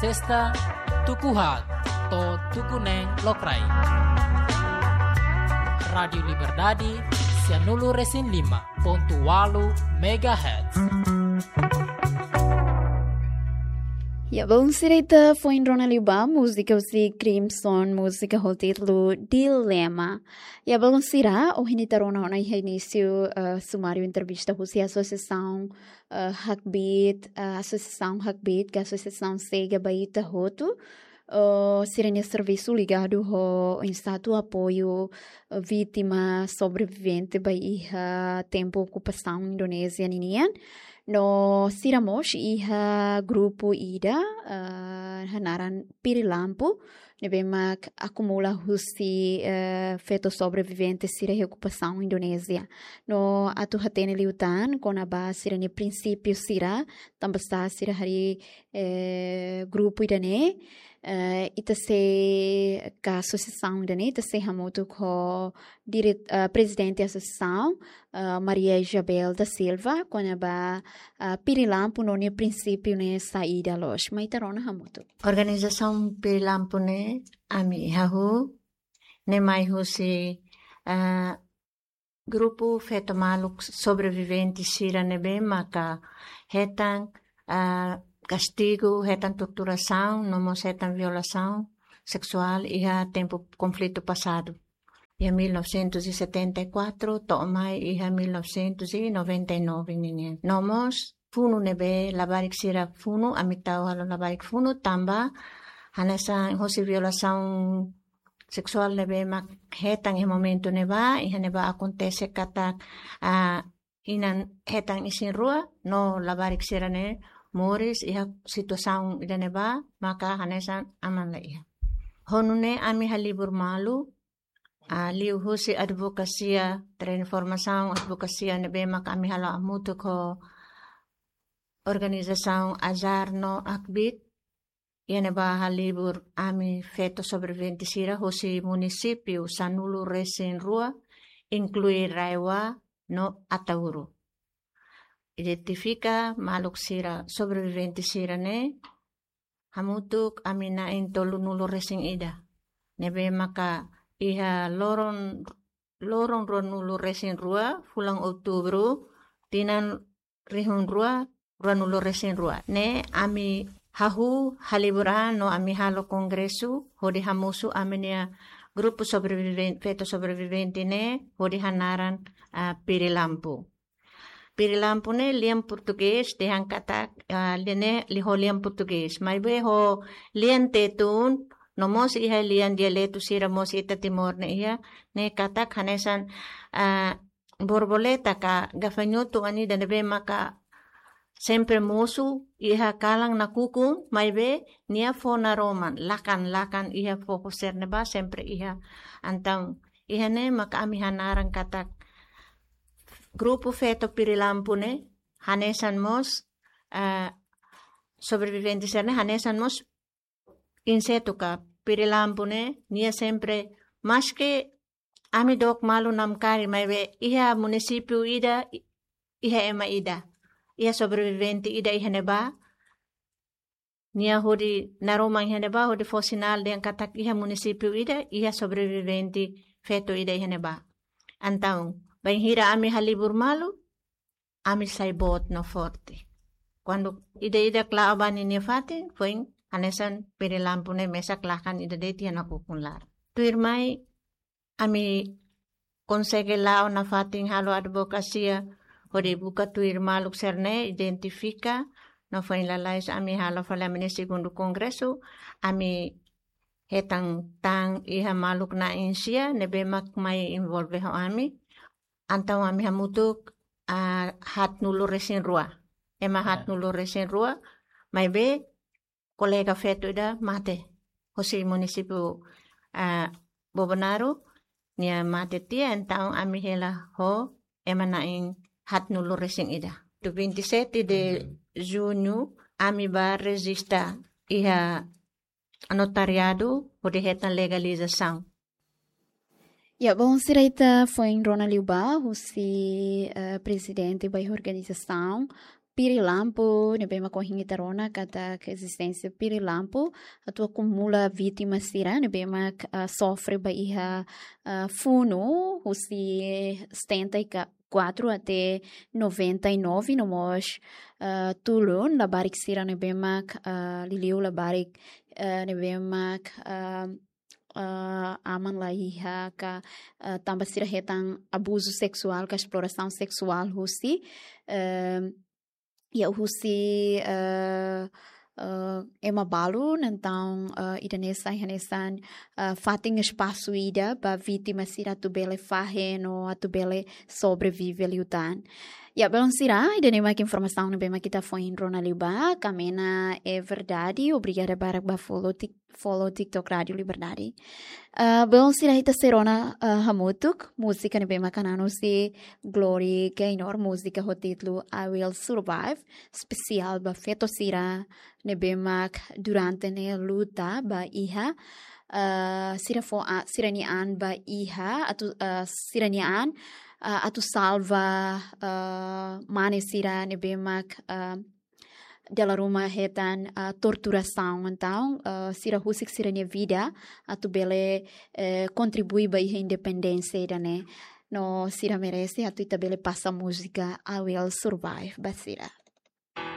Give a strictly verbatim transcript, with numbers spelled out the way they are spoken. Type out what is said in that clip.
Testa tuku haat to'o tuku neen lokraik. Rádiu Liberdade, sianulu-resin-lima megahertz. Ya, belun sira, ita foin rona liu ba múzika husi Crimson, múzika ho títulu Dilema. Ya, belun sira, ohin ita rona ona iha inísiu, eh, sumáriu entrevista husi asosiasaun, eh, Hakbiit, eh, asosiasaun Hakbiit, ka asosiasaun sega ba ita hotu. Eh, sira-nia servisu ligadu ho oinsá atu apoiu, eh, vítima, sobrevivente ba iha tempu okupasaun Indonézia ninian. No sira mós iha grupu ida, eh, hanaran Pirilampu, ne'ebé mak akumula husi, eh, feto sobrevivente sira iha okupasaun Indonézia. No atu hatene liután kona-ba sira-nia prinsípiu sira, tanbasá sira harii, eh, grupu ida-ne'e, eh, ita sei ka asosiasaun ida-ne'e, ita sei hamutuk ho diret-, eh, prezidente asosiasaun, eh, Maria Isabel da Silva, kona-ba, eh, Pirilampu no nia prinsípiu ne'e saida loos. Mai ita rona hamutuk. Organizasaun Pirilampu ne'e ami hahú, ne'e mai husi, eh, grupu feto maluk sobrevivente sira ne'ebé maka hetan, ah, kastigu, hetan torturasaun, no mós hetan violasaun seksuál iha tempu konflitu pasadu. Iha mil novecentos e setenta e quatro, to'o mai iha mil novecentos e noventa e nove ninian. No mós funu ne'ebé labarik sira funu, ami tau halo labarik funu, tanba hanesan hosi violasaun seksuál ne'ebé mak hetan iha momentu ne'ebá, iha ne'ebá akontese katak, ah, inan hetan isin-rua, no labarik sira-ne'e moris iha situasaun ida-ne'ebá, maka hanesan aman la iha. Ho nune'e ami halibur malu, ah, liuhusi advokasia, transformasaun advokasia ne'ebé mak ami halo hamutuk ho organizasaun AJAR no Hakbiit, iha ne'ebá halibur ami feto sobrevivente sira hosi munisípiu sanulu-resin-rua, inklui RAEOA no Ataúro. Identifika maluk sira sobrevivente sira-ne'e, hamutuk ami na'in tolunulu-resin-ida. Ne'ebé maka iha loron, loron ruanulu-resin-rua, fulan Outubru, tinan rihun rua, ruanulu-resin-rua. Ne'e ami hahú halibur an no ami halo kongresu, hodi hamosu ami-nia grupu sobreviven-, feto sobrevivente ne'e, hodi hanaran, ah, Pirilampu. Pirilampu ne'e lian portugés, dehan katak, ah, lian ne'e liu ho lian portugés. Maibé ho lian Tetun, no mós iha lian dialetu sira mós ita Timor ne'e iha, ne'e katak hanesan, ah, borboleta ka gafanhotu ida ne'ebé maka sempre mosu iha kalan nakukun, maibé nia fó naroman, lakan-lakan iha foko sira ne'ebá sempre iha. Entaun, iha ne'e maka ami hanaran katak grupu feto Pirilampu ne'e, hanesan mós, eh, sobrevivente sira-ne'e, hanesan mós insetu ka Pirilampu ne'e, nia sempre, maski ami dook malu namkari, maibé iha munisípiu ida, i-, iha ema ida, iha sobrevivente ida iha ne'ebá, nia hodi naroman iha ne'ebá, hodi fó sinál dehan katak iha munisípiu ida, iha sobrevivente feto ida iha ne'ebá. Entaun, bainhira ami halibur malu, ami sai boot no forte. Kuandu ida-idak la'o ba ninia fatin, foin hanesan Pirilampu ne'e mesak lakan ida de'it iha nakukun laran. Tuirmai, ami konsege la'o nafatin halo advokasia, hodi buka tuir maluk sira-ne'e, identifika, no foin lalais ami halo fali ami-nia segundu kongresu, ami hetan tan iha maluk na'in sia, ne'ebé mak mai envolve ho ami, entaun ami hamutuk, ah, haatnulu-resin-rua. Ema, ah, haatnulu-resin-rua, maibé kolega feto ida mate. Hosi munisípiu, ah, Bobonaro, nia mate tiha, entaun ami hela ho ema na'in haatnulu-resin-ida. Dia vinte e sete de, uhum, junho, ami bá rejista iha notariadu, hodi hetan legalizasaun. Ya, belun sira, ita foin rona liu ba husi, eh, prezidente ba iha organizasaun, Pirilampu, ne'ebé mak ohin ita rona katak ezisténsia Pirilampu atu akumula vítima sira ne'ebé mak, ah, sofre ba iha, ah, funu husi setenta e quatro até noventa e nove, no mós, ah, tulun labarik sira ne'ebé mak, ah, liuliu labarik, ah, ne'ebé mak, ah, ah, aman la iha ka, ah, tanba sira hetan abuzu seksuál ka esplorasaun seksuál husi, eh, iha husi, eh, eh, ema balu, entaun, eh, ida-ne'e sai hanesan, eh, fatin espasu ida ba vítima sira atu bele fahe no atu bele sobrevive liután. Ya, belun sira, ida-ne'e mak informasaun ne'ebé mak ita foin rona liubá, Kamena é Verdade, obrigada barak ba follow Tik-, follow TikTok Rádio Liberdade. Ah, belun sira, ita sei rona, ah, hamutuk múzika ne'ebé mak hanesan husi Glory Gaynor, múzika ho títulu I Will Survive, espesiál ba feto sira ne'ebé mak durante ne'e luta ba iha, ah, sira fó a-, sira-nia an ba iha, atu, ah, sira-nia an, ah, atu salva, ah, mane sira ne'ebé mak, ah, dala ruma hetan, ah, torturasaun, entaun, ah, sira husik sira-nia vida atu bele, eh, kontribui ba iha independénsia ida-ne'e. No sira merese atu ita bele pasa múzika I Will Survive ba sira.